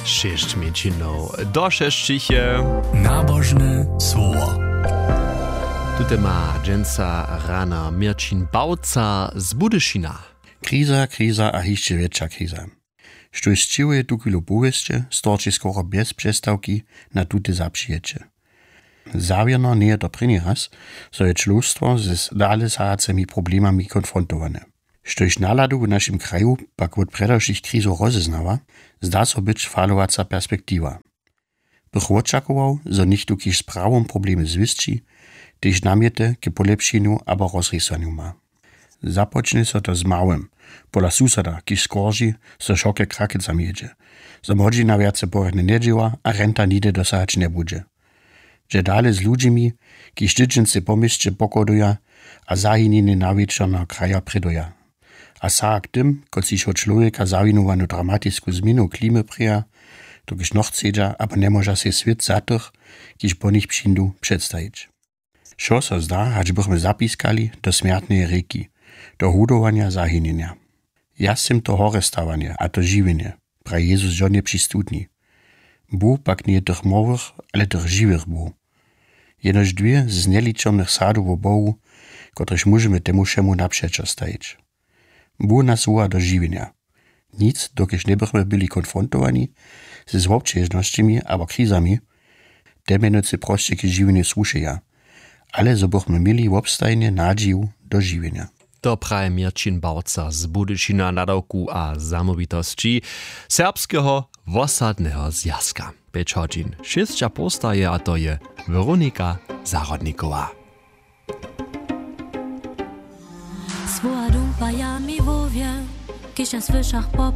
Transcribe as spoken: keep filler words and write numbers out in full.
Šěsć mjeńšinow do šesćich je. Nabožne słowo. Tute ma dźensa rana měrćin bałca z budyšina. Kriza, kriza a hišće wjetša kriza. Štóž sćěhuje tuchwilu powěsće, storči skoro bjez přestawki na tute zapřijeće. Zawěrno njeje to prěni raz, zo je čłowstwo z dale sahacymi problemami konfrontowane. Štóž nahladu w našim kraju pak wot prjedy wšěch krizow rozeznawa, zda so być falowaca perspektiwa. Bych wočakował, zo něchtó kiž z prawom problemy zwěsći, tež namjety k polěpšenju abo rozrěsłanju ma. Započnje so to z małym, pola susada kiž skorži, zo wšoke krakecam jědźe, zo młodźina wjace porjadnje njedźěła a renta nihdy dosahać njebudźe. Dźe dale z ludźimi, kiž tydźency po měsće pochoduja a zahinjenje nawječorneho kraja prěduja. A saha k tym, kotřiž wot čłowjeka zawinowanu dramatisku změnu klimy prěja, dokelž nochcedźa abo njemóža sej swět za tych, kiž po nich přińdu, předstajić. Wšo so zda, hač bychmy zapiskali do smjertneje rěki, do hudowanja zahinjenja. Ja sym to horestawanje a to žiwjenje, praji Jezus žonje při studni. Bóh pak njeje tych morwych, ale tych žiwych Bóh. Jenož dwě z njeličomnych sadow wo Bohu, kotrež móžemy temu wšemu napřećo stajić. Bóh nas woła do žiwjenja. Nic, dokelž njebychmy byli konfrontowani z wobćežnosćemi abo krizami, te mjenujcy prosće k žiwjenju słušeja, ale zo bychmy měli wobstajnje nadźiju do žiwjenja. To praji Měrćin Bałca z Budyšina, nadawku a zamołwitosći Serbskeho wosadneho zwjazka. Pjeć hodźin šěsća postaje, a to je Weronika Zahrodnikowa. Słowa dumpaja mi hłowje, kiž ja słyšach po